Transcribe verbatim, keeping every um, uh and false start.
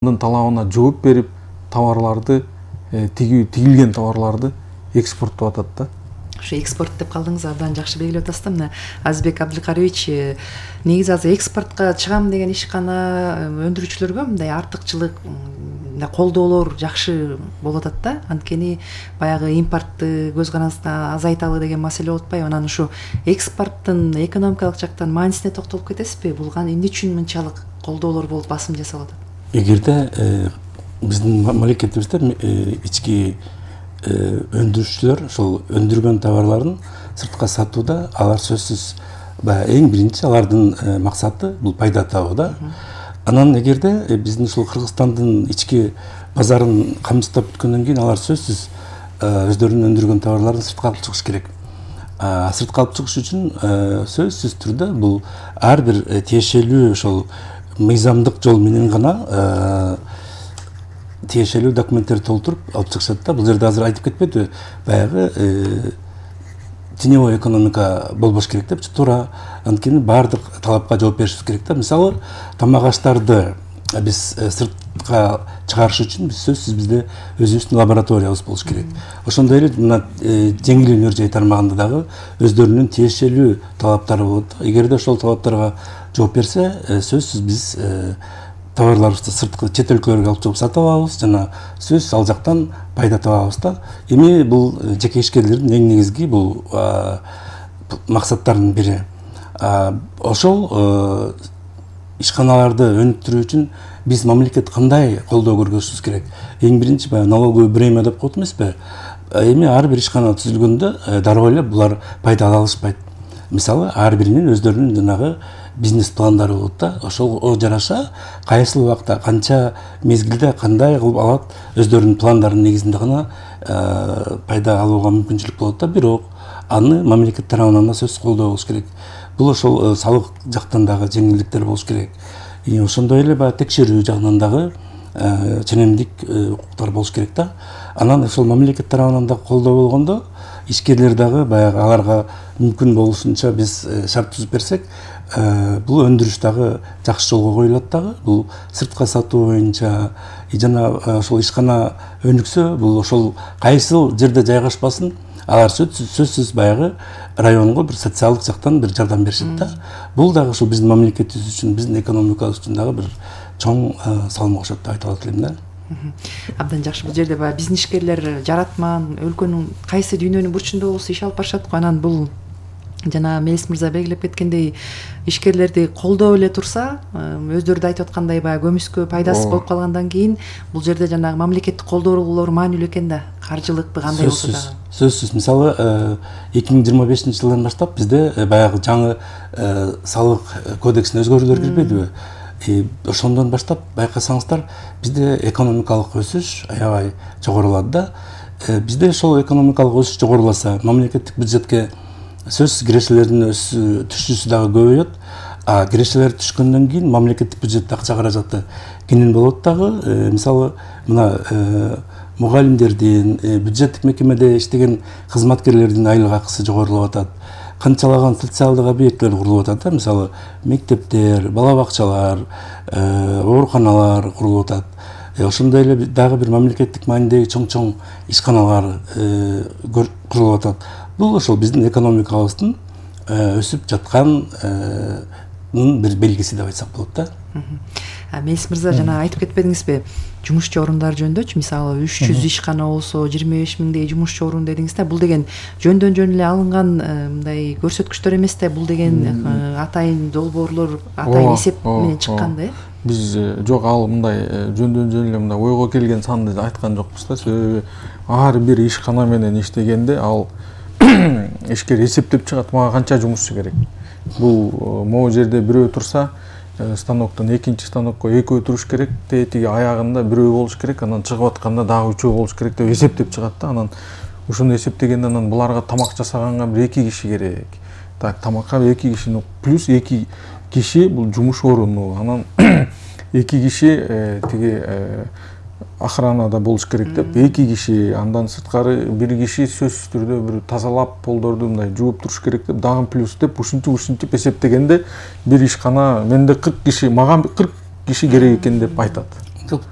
талабына жооп берип товарларды тигилген товарларды экспорттоп атат да. Ошо экспорт деп калдыңыз, абдан жакшы белгилеп атасыз да. Мына Азбек Абдылкариевич, негизи азыр экспортко чыгам деген ишкана өндүрүүчүлөргө мындай артыкчылык, мындай колдоолор жакшы болуп атат да. Анткени баягы импортты көз карандысына азайталы деген маселе болуп атпайбы? Анан ушу экспорттун экономикалык жактан маанисине токтолуп кетесизби? Бул эмне үчүн мынчалык колдоолор болуп басым жасалып атат? Эгерде биздин мамлекетибизде ички өндүрүүчүлөр ошол өндүргөн товарларын сыртка сатууда алар сөзсүз эң биринчи алардын максаты бул пайда табуу да. Анан эгерде биздин ушул Кыргызстандын ички базарын камсыздап бүткөндөн кийин алар сөзсүз өздөрүнүн өндүргөн товарларын сыртка алып чыгыш керек. Сыртка алып чыгыш үчүн сөзсүз түрдө бул ар бир тиешелүү ошол мыйзамдык жол менен гана тиешелүү документтерди толтуруп алып чыгышат да. Бул жерде азыр айтып кетпедиби, баягы теневой экономика болбош керек деп, туура анткени баардык талапка жооп беришибиз керек да. Мисалы, тамак аштарды биз сыртка чыгарыш үчүн биз сөзсүз бизде өзүбүздүн лабораториябыз болуш керек. Ошондой эле мына жеңил өнөр жай тармагында дагы өздөрүнүн тиешелүү талаптары болот. Эгерде ошол талаптарга жооп берсе, сөзсүз биз товарларыбызды сырткы чет өлкөлөргө алып чыгып сатып алабыз жана сөзсүз ал жактан пайда табабыз да. Эми бул жеке ишкерлердин эң негизги бул максаттарынын бири. Ошол ишканаларды өнүктүрүү үчүн биз мамлекет кандай колдоо көрсөтүшүбүз керек? Эң биринчи баягы налоговый бремя деп коет эмеспи? Эми ар бир ишкана түзүлгөндө дароо эле булар пайда ала алышпайт. Мисалы, ар биринин өздөрүнүн жанагы бизнес пландары болот да. Ошого жараша кайсыл убакта канча мезгилде кандай кылып алат, өздөрүнүн пландарын негизинде гана пайда алууга мүмкүнчүлүк болот да. Бирок аны мамлекет тарабынан да сөзсүз колдоо болуш керек. Бул ошол салык жактан дагы жеңилдиктер болуш керек. Ошондой эле баягы текшерүү жагынан дагы ченемдик укуктар болуш керек да. Анан ошол мамлекет тарабынан да колдоо болгондо ишкерлер дагы баягы аларга мүмкүн болушунча биз шарт түзүп берсек, бул өндүрүш дагы жакшы жолго коюлат дагы. Бул сыртка сатуу боюнча жана ошол ишкана өнүксө, бул ошол кайсыл жерде жайгашпасын, алар сөзсүз баягы районго бир социалдык жактан бир жардам беришет да. Бул дагы ошо биздин мамлекетибиз үчүн, биздин экономикабыз үчүн дагы бир чоң салым кошот деп айта алат элем да. Абдан жакшы. Бул жерде баягы биздин ишкерлер жаратман өлкөнүн кайсы дүйнөнүн бурчунда болсо иш алып барышат го. Анан бул жана Мелис мырза белгилеп кеткендей, ишкерлерди колдоп эле турса, өздөрү да айтып аткандай баягы көмүскө пайдасыз болуп калгандан кийин бул жерде жанагы мамлекеттик колдоолор маанилүү экен да. Каржылыкпы кандай болсо дагы. Сөзсүз. Мисалы, эки миң жыйырма бешинчи жылдан баштап бизде баягы жаңы салык кодексине өзгөрүүлөр кирбедиби? Ошондон баштап байкасаңыздар, бизде экономикалык өсүш аябай жогорулады да. Бизде ошол экономикалык өсүш жогоруласа, мамлекеттик бюджетке сөзсүз кирешелердин түшүүсү дагы көбөйөт. А кирешелер түшкөндөн кийин мамлекеттик бюджетте акча каражаты кенен болот дагы. Мисалы, мына мугалимдердин, бюджеттик мекемеде иштеген кызматкерлердин айлык акысы жогорулап атат. Канчалаган социалдык объектилер курулуп атат да. Мисалы, мектептер, бала бакчалар, ооруканалар курулуп атат. Ошондой эле дагы бир мамлекеттик маанидеги чоң-чоң ишканалар курулуп атат. Бул ошол биздин экономикабыздын өсүп жатканын бир белгиси деп айтсак болот да. Мелис мырза, жана айтып кетпедиңизби, жумушчу орундар жөнүндө, мисалы үч жүз ишкана болсо жыйырма беш миңдей жумушчу орун дедиңиз да. Бул деген жөндөн жөн эле алынган мындай көрсөткүчтөр эмес да. Бул деген атайын долбоорлор, атайын эсеп менен чыккан да. Биз жок, ал мындай жөндөн жөн эле мындай ойго келген санды айткан жокпуз да. Себеби ар бир ишкана менен иштегенде ал ишкер эсептеп чыгат, мага канча жумушчу керек. Бул могу жерде бирөө турса, станоктон экинчи станокко экөө туруш керек, тетиги аягында бирөө болуш керек, анан чыгып атканда дагы үчөө болуш керек деп эсептеп чыгат да. Анан ушуну эсептегенде анан буларга тамак жасаганга бир эки киши керек. Так, тамакка эки киши плюс эки киши бул жумуш оруну. Анан эки киши тиги охранада болуш керек деп, эки киши, андан сырткары бир киши сөзсүз түрдө бир тазалап полдорду мындай жууп туруш керек деп, дагы плюс деп ушинтип ушинтип эсептегенде бир ишкана менде кырк киши, мага кырк киши керек экен деп айтат. жок